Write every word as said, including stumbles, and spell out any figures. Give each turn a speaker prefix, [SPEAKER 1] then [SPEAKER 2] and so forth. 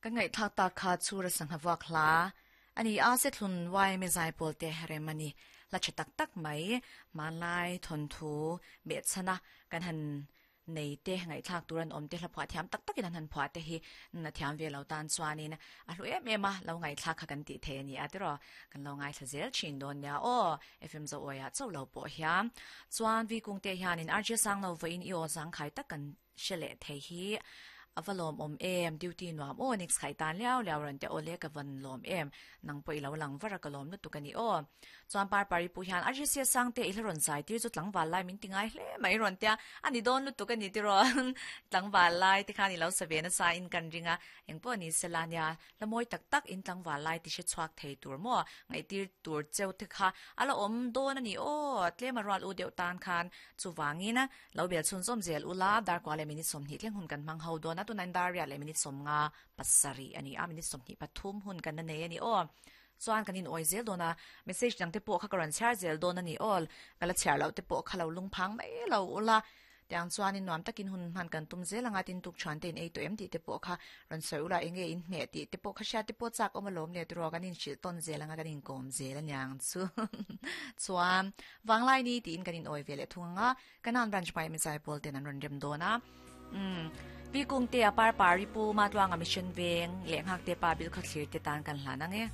[SPEAKER 1] Kan ngai thak ta kha chura sangha wak hla ani a se thlun wai me zai pol te heremani la che tak tak mai manlai thon thu me chana kan han nei te ngai thak turan om te hla phwa thiam tak takin han phwa te hi na thiam ve lo tan chuanin a hlu em em a lo ngai thak kha kan ti the ni a tiro kan lo ngai thlazel chin don nia o F M zo oya chau lo po hiam chuan vi kung te hianin R J sang lo voin i o sang khai tak kan shele the hi avalom om em duty nuam o next khai tan liao liao ran te ole ka van lom em nang poi lo lang vara ka lom nu tu kani o chuan par pari pu hian R J C sang te ilron zai tir chu tlangwal lai min tingai hle mai ron tia ani don lu tu kani ti ron tlangwal lai ti khani lo save na sa in kan ringa engpo ni selania lamoi tak tak in tlangwal lai ti she chuak thei tur mo ngai tir tur cheu te kha ala om don ani o tle maral u deuh tan khan chuwangina lo bel chun zom zel ula dar kwale minute som ni thleng hun kan mang ho don tu nan daria le minute som nga pasari ani a minute som ni pathum hun kan na nei ani o chuan kanin oi zel dona message dang te pawh kha karan char zel don ani all kala char lo te pawh kha lo lung phang mai lo ula tiang chuan in nuam takin hun man kan tum zel anga tin tuk chuan ten ei to em ti te pawh kha ran soi ula enge in hne ti te pawh kha sha te pawh chak om lom le tro kanin shil ton zel anga kanin kom zel anyang chu chuan wanglai ni tin kanin oi vele thunga kanan branch pai mi zai pol ten an ran rem dona um vi kung te apar pari pu ma tluanga mission veng leng hak te pa bil kha thlir te tan kan hlan ange.